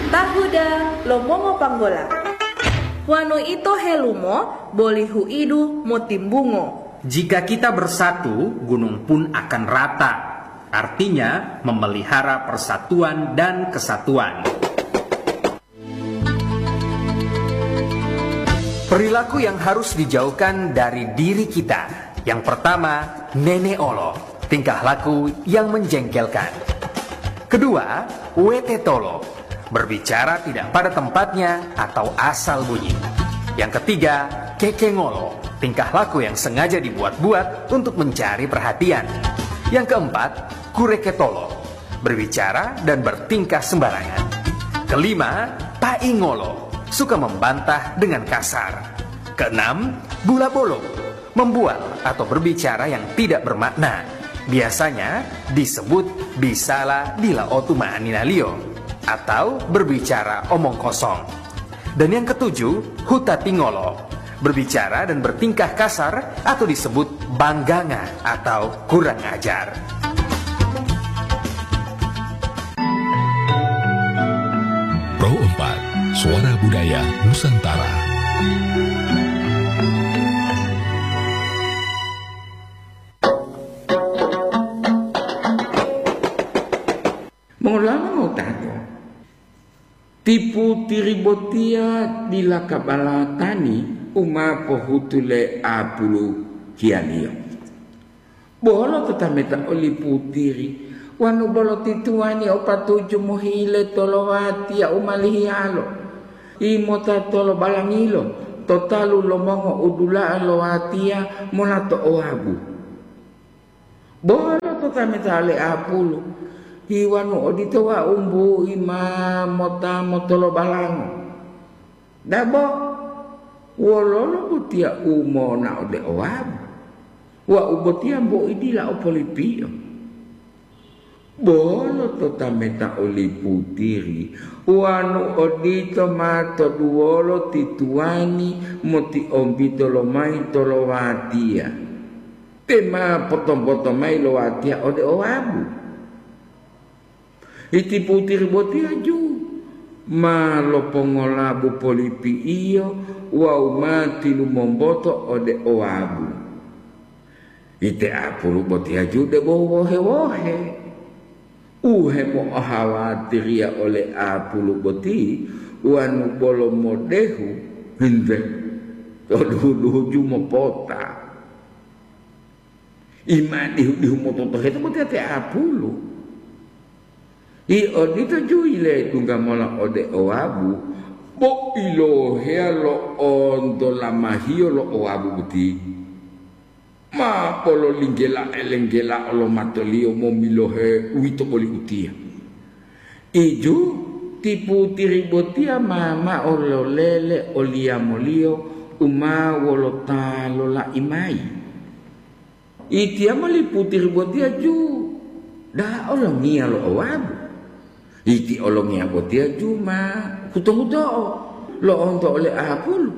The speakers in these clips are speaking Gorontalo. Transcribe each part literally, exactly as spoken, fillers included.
Tahuda lo mongo panggola. Wanu ito helumo boli huidu motimbungo. Jika kita bersatu, gunung pun akan rata. Artinya, memelihara persatuan dan kesatuan. Perilaku yang harus dijauhkan dari diri kita. Yang pertama, nene olo, tingkah laku yang menjengkelkan. Kedua, wete tolo, berbicara tidak pada tempatnya atau asal bunyi. Yang ketiga, kekengolo, tingkah laku yang sengaja dibuat-buat untuk mencari perhatian. Yang keempat, kureketolo, berbicara dan bertingkah sembarangan. Kelima, paingolo, suka membantah dengan kasar. Keenam, bula bolong, membual atau berbicara yang tidak bermakna. Biasanya disebut bisala dila otu ma'aninaliyo atau berbicara omong kosong. Dan yang ketujuh, huta tingolo, berbicara dan bertingkah kasar atau disebut bangganga atau kurang ajar. Pro empat, Suara Budaya Nusantara. Mongolama ngotato. Ti putiri botiya dila kabalatani u ma pohutu le apulu hiyaliyo. Bolo to tameta oli putiri, wanu bolo ti tuwani o patuju mohile to lowatiya u malihiyalo, imota tolo balangilo to talu lo mongo u dula'a lowatiya mola to owabu. Bolo to tameta le apulu, hiwanu odito wau mbu'i ma mota motolobalango. Dabo, wololo botiya u monao ode owabu? Wau botiya mbu'i dila o polipiyo. Bolo to tameta oli putiri, wanu odito ma toduwolo ti tuwani motiombito lomayi to lowatiya. Te ma potompoto mayi lo watiya ode owabu. Iti putiri botiya ju ma lopongolabu polipi'iyo wawu ma tilumomboto ode owabu. Ite apulu botiya ju debo wohe-wohe. U hemo'ohawatiriya ole apulu boti wanu bolo modehu hinte to duhu-duhu ju mopota. Ima dihu-dihu mototoheto boti ate apulu. I odito ju yile dungga mola ode owabu, bo iloheya lo'onto lamahiyo lo owabu boti. Ma bolo linggela-elenggela lo matoliyo momilohe uwito boli utiya. Iju ti putiri botiya ma mao lolele oliyamoliyo u ma wolo ta lola'i mayi. Itiyamo li putiri botiya ju da'a olongiya lo owabu. Iti olongiya botiya ju ma huto-huto'o lo'onto ole apulu.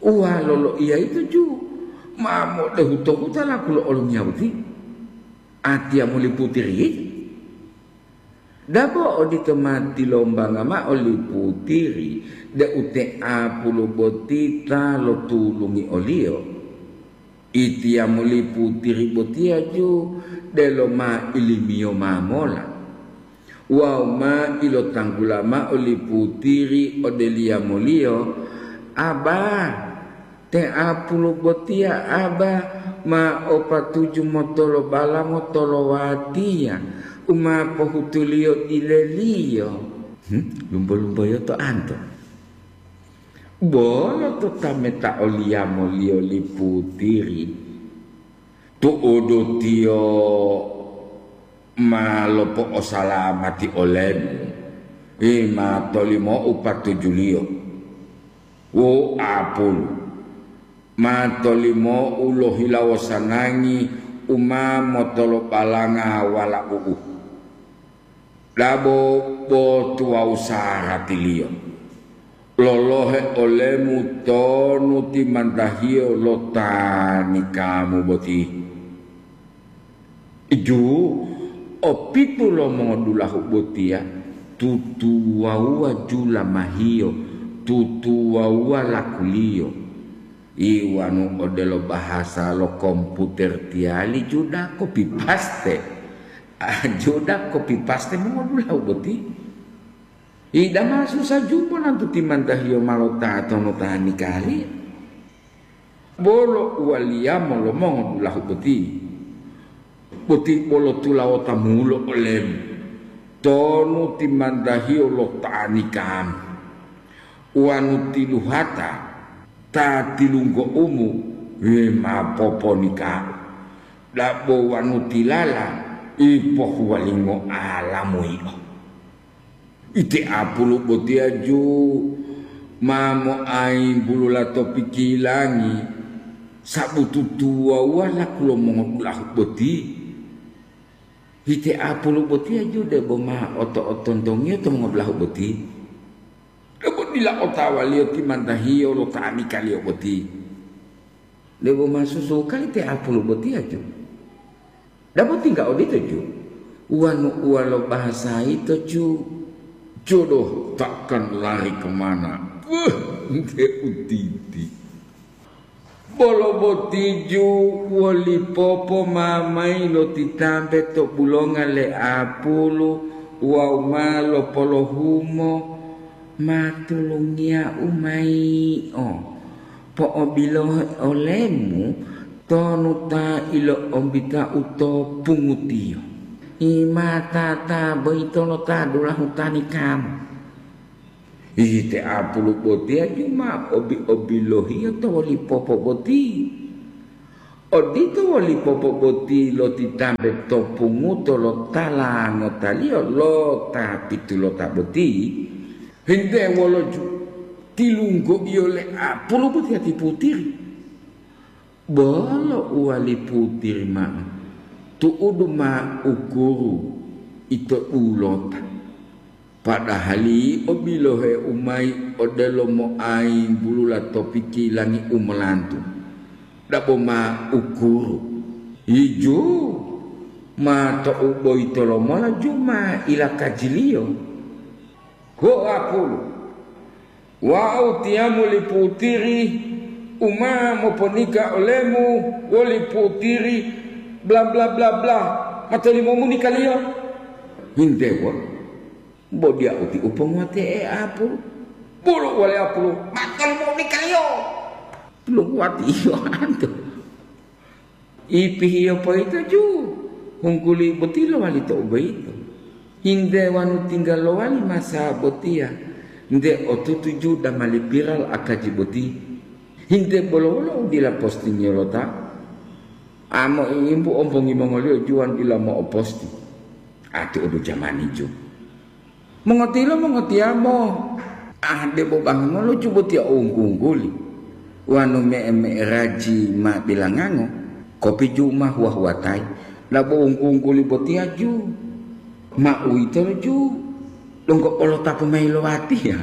Uwalo loiya yito ju ma modehu to hutalaku lo olongiya boti. Atiya muli putiri yito. Dabo odito ma tilombanga mao li putiri deu te apulu boti ta lotulungi oliyo. Itiya muli putiri botiya ju delo ma ilimiyo ma mola. Wawu ma ilotanggula mao li putiri ode liyamoliyo, "Aba, te apulu botiya aba ma o patuju motolobalamo to lowatiya u ma pohutuliyo dileliyo." Hmm, lumbo-lumboyo to anto. Bolo to tameta oliyamoliyo li putiri, tu'udu tiyo ma lopo'osalamati olemu, i ma tolimou patujuliyo. Wo apulu, ma tolimou lohilawo sanangi u ma motolobalanga walau'u. Dabo bo tuwawu saratiliyo. Lolohe olemu tonu timantahiyo lo ta nikamu boti. Ju, opitu lo mongodulahu botiya Tutuwawuwa ju lamahiyo, tutuwawuwa lakuliyo. Iwanu odelo bahasa lo komputer tiyali, juda kopi paste. Ah, juda kopi paste mongodulahu boti. Ida ma susa ju monantu timantahiyo ma lo tatonu ta nikali. Bolo uwaliyamo lo mongodulahu boti, boti bolo tulawota mulo olemu, tonu timantahiyo lo ta nikam, wanu tiluhata ta tilunggoumu, we ma poponikau, dabo wanu tilala ipohuwalingo alamu yio. Ite apulu botiya ju ma moayimbulula to pikilangi, sabu tutuwawuwa laku lo mongodulahu boti. Ite apulu botiya ju debo ma oto-otontongiyo to mongodulahu boti. Debo dila otawaliyo timantahiyo lo ta nikaliyo boti. Debo ma susuka ite apulu botiya ju. Dabo tingga odito ju, wanu uwa lo bahasa yito ju, jodoh takkan lari kemana. Wah, nte utiti. Bolo boti ju woli popo ma mayi lotitampe to bulonga le apulu wawu ma lopolohumo, ma tulungiyau mayi o. Po'obilohe olemu tonu ta ilo'ombita'u to pungutiyo. Imata ta boyito lo ta dulahu ta nikamu. Ite apulu botiya ju ma obi-obilohiyo to woli popo boti. Odito woli popo boti lotitampe to punguto lo tala ngotaliyo lo ta pitulota boti. Hinte wolo ju tilunggoiyo le apulu botiya ti putiri. Bolo uwali putiri ma'o, tu'udu ma ukuru ito dulota. Padahali obilohe u mayi odelo moayimbulula to pikilangi u molantu, dabo ma ukuru. Yiju ma to'u boyito lomola ju ma ilakajiliyo. Ho apulu, wau tiyamu li putiri u ma moponika olemu woli putiri bla, bla, bla, bla, matolimomu nikaliyo? Hindewo, bo diya uti u ponguwate'e apulu. Bolo uwali apulu, matolimonikaliyo. Longuwatiyo anto. Ipihiyo poyito ju, hungguli boti lowali to'u boyito. Hinte wanu tingga lowali masa botiya, nte otutu ju damali piral akaji boti. Hinte bolo wolo u dila postingiyo lo ta? Amo iimbu ombongi mongoliyo ju wanu dila mo'oposti. Ati odu jamani ju. Mongotilo mongotiyamo, ah, debo bangulo ju botiya o wunggu-wungguli, wanu me'e-me'eraji ma bilangango, kopi ju ma huwa-huwatayi, labo wunggu-wungguli botiya ju, ma uwitolo ju, donggo olo tapu mayi lo watiya.